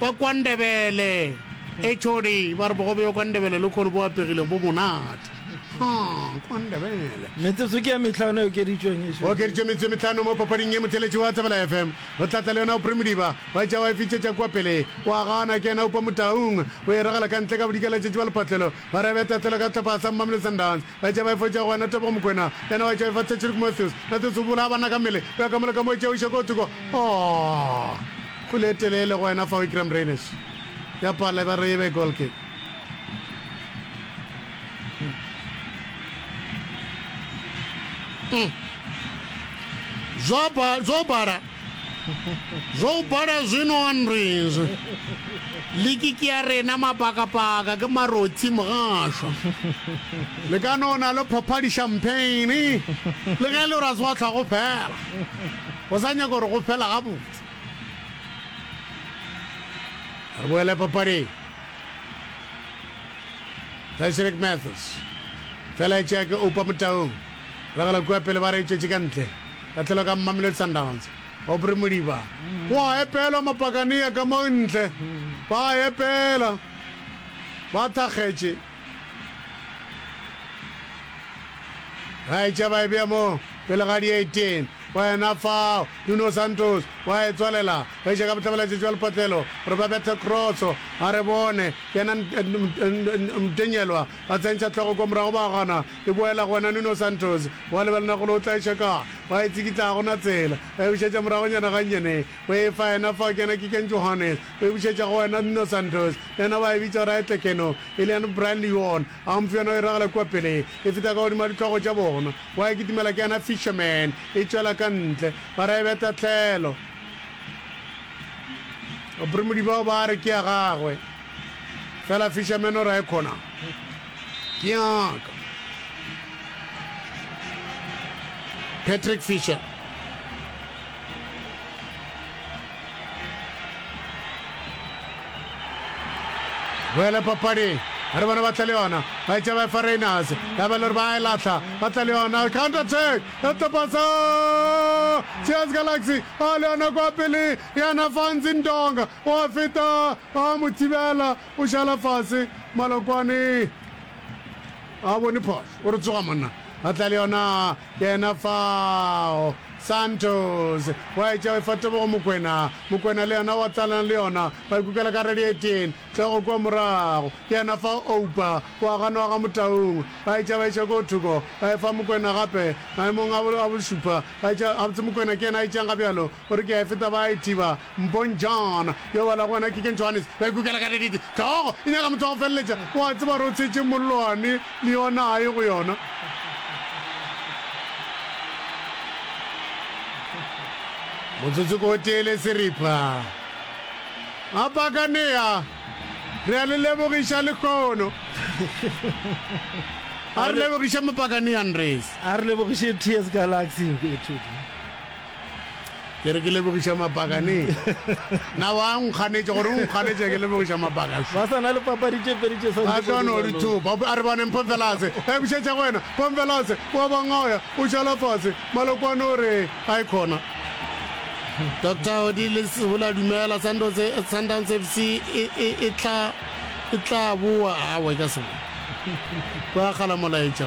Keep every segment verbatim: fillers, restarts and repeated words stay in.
Ba KwaNdebele, H O D ba re bogobe bja KwaNdebele le khono bo apegile bo monate. Ha, KwaNdebele. Metsotso ke ya mehlano e okeditšweng e Go okeditšwe metsotso e mehlano mo papading ye. Motheeletši wa Thobela F M o tla tla le yona Aubrey Modiba wa tša wa e fitšetša kua pele. Wa gana ke yena Oupa Motaung o e ragela ka ntle ka bodikela letšatši ba lephatlelo ba re beta tlelo ka sehlopha sa Mamelodi Sundowns. Ba tša ba e fotša go wena Tebogo Mokoena yena wa tša e fa Patrick Matthews. Matthews o bolaya banna ka mmele o ya ka mola ka mo e tšea o iša ko thoko. Oh! Kgwele e telele go wena fao Iqraam Rayners ya pala ba re e be goal kick. Mm. Zwo ba zwo bala. Zwo bala zwino Andres. Liki ke ya rena mapakapaka ke marotsi mogašwa. Le ka no na le phopha di champagne. Le ge e le gore a se wa hlwa go fela. O sa nyaka gore go fela gabotse. Re boele papading. Patrick Matthews. Fela e tšea ke Oupa Motaung. Ragela kua pele ba re e tšwetše ka ntle. Tahlelo ka Mamelodi Sundowns. Aubrey Modiba. Wa epelwa Mapakania ka mo ntle. Ba epela. Ba thakgetše. Ga e tša ba e bea mo pele ga di eighteen. Wena fao, Nuno Santos wa e tswalela. Ba iša ka bohlabela-tšatši bja lepatlelo gore ba bethe kroso. A re bone, yena Mtenyelwa a tsentšha hlogo kwa morago ba gana. E boela go wena Nuno Santos. Wa lebelela gore o tla iša kae. Wa e tsikitla ga go na tsela. Ba e bušetša moragonyana gannyane. O e fa yena fao ke yena Keagan Johannes. O e bušetša go wena Nuno Santos. Yena ba e bitša gore a e tle keno. E le yena Brian Leon. A mpho yona o e ragela kua pele. E feta ka godimo ga dihlogo tša bona. Wa e kitimela ke yena Fisherman. E tšwela ka ntle. Ba re e be tahlelo. Baphurumudi bao ba re ke ya gagwe. Fela Fisherman o re e khona. Ke ya ka. Patrick Fisher. Boele papading. Re bona ba tla le yona. Ba etša ba efa Rayners. Ya ba le gore ba e lahla. Ba tla le yona. Counter attack. Ya tlopa sa T S Galaxy. A le yona kwa pele. Yena Fanzi Ndonga. Wa feta. Ba mo thibela. O šala fase. Malokwane. A bone phošo. O re tsoga monna. Ba tla le yona. Yena fao. Santos. Wa etša efa Tebogo Mokwena. Mokwena le yena wa tlalana le yona. Ba ikukela ka radiating. Hlogo kua morago. Ke yena fao Oupa. Wa ganwa ga Motaung. Ba etša ba iša ko thoko. Ba efa Mokwena gape. Maemong a bo, a bošupa. Ba etša, gabotse Mokwena ke yena a etšang ga bjalo. O re ke a e feta ba a e thiba. Mpong John. Yo bala go wena Keagan Johannes. Ba ikukela ka radiating. Hlogo e nyaka motho wa go feleletša. Wa tseba gore o tshetše mollwane le yona a ye go yona. Motsotso ke o tee le seripa. A Pakanea, re a le lebogiša lehono. A re lebogiše Mopakanea Andres. A re lebogiše T S Galaxy. Ke re ke lebogiša Mapakanea. Na wa nkganetša gore o nkganetša ke lebogiša Mapaka? Ba sa na le papadi tše pedi tše sa Ba tlo no di thopa. A re bone Mpho Mvelase. E bušetša go wena. Mpho Mvelase wa bangoya o šala fase. Malokwane o re a e khona. Doctor Odile Sebola dumela Sundowns, Sundowns F C e, e, e tla e tla boa awa e ka se boe. Kwa gala molaetša.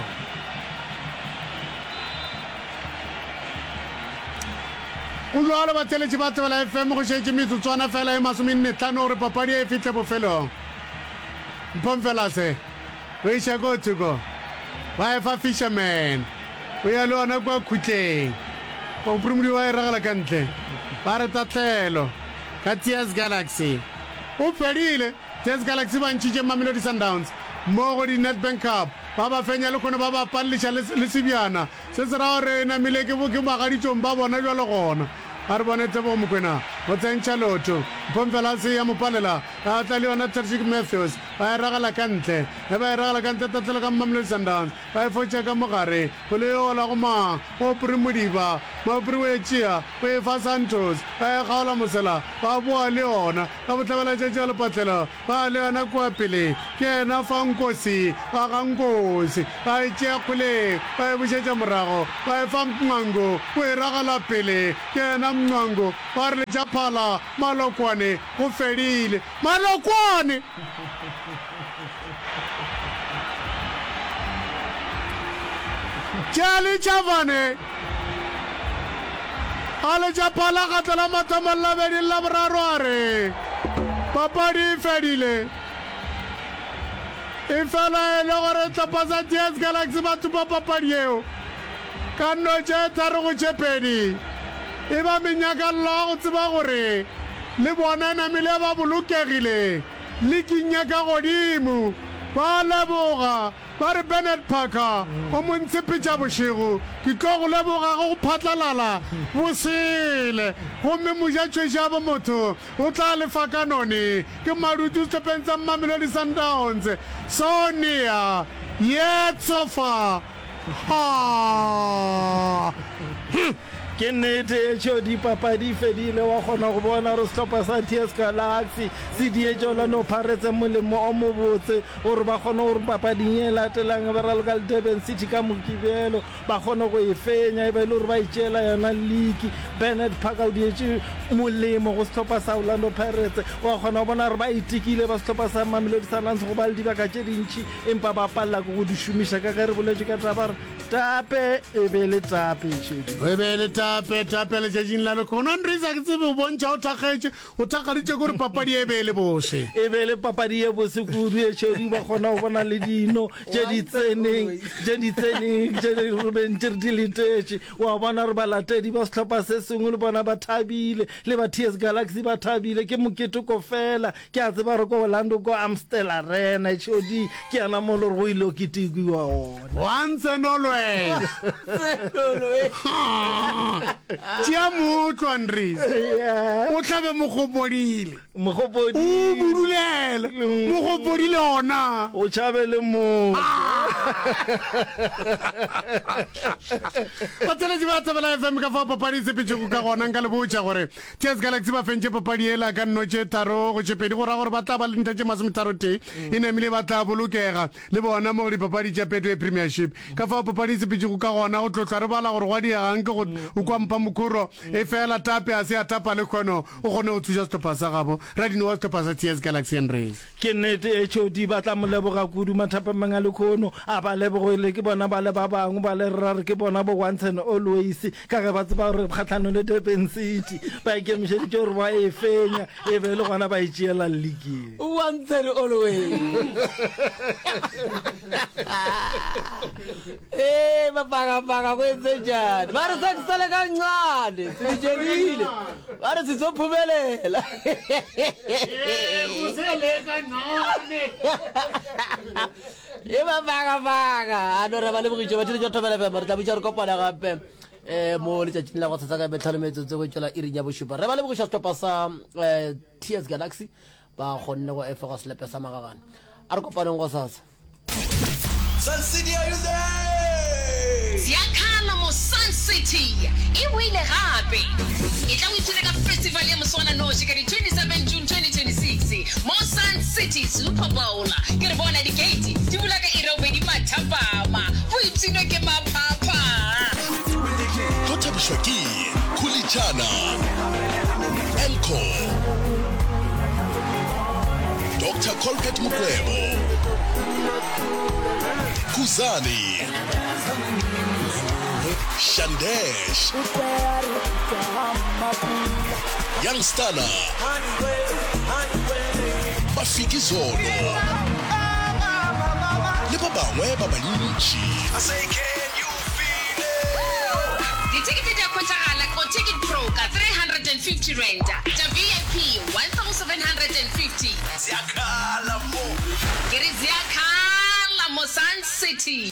Go jwalo batheletši ba Thobela F M go šetše metsotswana fela e masomenne tlhano gore papadi e fihle bofelong. Mpho Mvelase o iša ko thoko ba efa Fisherman o ya le yona kua khutleng. Bophrumodi ba e ragela ka ntle ba re tahlelo ka T S Galaxy. O fedile. T S Galaxy ba ntšhitše Mamelodi Sundowns mo go di Nedbank Cup ba ba fenya lehono ba ba palliša le, le sebjana. Se se ra gore e namile ke, ke bagaditšong ba bona bjalo gona. A re bone Tebogo Mokwena o tsentšha lotho. Mpho Mvelase ya mo palela. A tla le yona Patrick Matthews, ba e ragela ka ntle. Ge ba e ragela ka ntle, tahlelo ka Mamelodi Sundowns, ba e fotša ka mogare. Kgwele e ola go mang? Aubrey Modiba. Aubrey o e tšea, o e fa Santos, ba e kgaola mosela, ba boa le yona. Ka bohlabelatšatši ga lepatlelo, ba le yona kua pele. Ke yena fa Nkosi, wa ga Nkosi. Ba e tšea kgwele, ba e bušetša morago, ba e fa Mncwango, o e ragela pele. Ke yena Mncwango, ba re letša phala, Malokwane, go fedile. Malokwane! Tšea letšavane, a letša phala kgatlo la mathomo le la bobedi le la boraro a re, Papadi e fedile. Efela e le gore sehlopha sa T S Galaxy ba thopa papadi yeo ka nno tše tharo go tše pedi, e ba menyakallo ya go tseba gore le bona namile ba bolokegile liking ya ka godimo. Ba leboga ba re, Bernard Parker, o mo ntshepetša bošego, ke tlo go leboga ge go phatlalala bosele. Gomme mojatšhweši a bo motho o tla lefa ka none. Ke Madutu sehlopheng sa Mamelodi Sundowns, Sonia Yetsofa. Ha! Hm! Ke nnete etšo dipapadi fedile, wa kgona go bona gore sehlopha sa T S Galaxy se dietše Orlando Pirates molemo o mobotse gore ba kgone gore papading ye e latelang ba raloka le Durban City ka Mokibelo ba kgone go e fenya e ba e le gore ba itšeela yona liki. Bernard Parker o dietše molemo go sehlopha sa Orlando Pirates, wa kgona go bona gore ba itekile ba sehlopha sa Mamelodi Sundowns go ba le dibaka tše dintši empa ba palela ke go di šomiša ka ge re boletše ka taba gore tape e be le tape šedi. E be le tape, tape letšatšing la lekgono. Andries, a ke tsebe o bontšha o thakgetše, o thakgaditše ke gore papadi e be e le bose. E be e le papadi ye bose kudu ye šedi, ba kgona go bona le dino tše di tseneng, tše di tseneng, tše di re beng tše re di letetše. Wa bona gore balatedi ba sehlopha se sengwe le bona ba thabile, le ba T S Galaxy ba thabile, ke moketeko fela. Ke a tseba gore ko Orlando, ko Amstel Arena, H O D, ke yana mo le gore go ile go ketekiwa gona. Once and always. Tšea mootlo, Andries. Yeah. O hlabe mogopodile. Mogopodi. O budulele. Mogopodile ona. O tšhabe le motho. Batheeletši ba Thobela F M, ka fao papadi e sepetšego ka gona, nka le botša gore T S Galaxy ba fentše papadi yela ka nno tše tharo go tše pedi, go ra gore ba tla ba le dintlha tše masometharotee, e namile ba tla bolokega le bona mo go dipapadi tša Betway Premiership. Ka fao papadi e sepetšego ka gona, go tlo hlwa re bala gore gwa diegang ke go o kwa mpha mokhoro, efela tape a se a tapa le kgono o kgone go thuša sehlopha sa gabo. Radino wa sehlopha sa T S Galaxy Andries. Ke nnete H O D ba tla mo leboga kudu mathapameng a lekhono. A ba lebogele ke bona ba le ba bangwe ba le ra re ke bona bo once and always ka ge ba tseba gore kgahlanong le Durban City ba ikemišeditše gore ba e fenya e be e le gona ba e tšeela league. Once and always. Ee, mapakapaka go etse njani? Ba re sekusele kancane, sibitjelile. Ba re sizophumelela. E mapakapaka. A no re ba lebogiše ba theletša Thobela F M. Re tla bitša re kopana gape eh mo letšatšing la go tshasa ka metlhano metsotso go tšwela iring ya bošupa. Re ba lebogiša sehlopha sa eh, T S Galaxy ba kgonne go efoga selepe sa magagane. A re kopaneng go sasa. Sun City, are you there? Ziakhala mo Sun City e boile gape! Etla o ipshine ka festival ya moswananoši ka di twenty seven June twenty twenty-six mo Sun City Super Bowl. Ke re bona di-gate di bula ka iri ya bobedi mathapama. Boipshino ke maphapha! Tlo thabišwa ke Khulitšana, Elco, Doctor Colbert Mokwebo, Khuzani, Shandesh, Young Stunner, Mafikizolo le ba bangwe ba bantši. Dithekete di a hwetšagala go Ticket Pro ka three hundred and fifty rand, tša V I P one thousand seven hundred and fifty. Ke re ziakhala mo Sun City.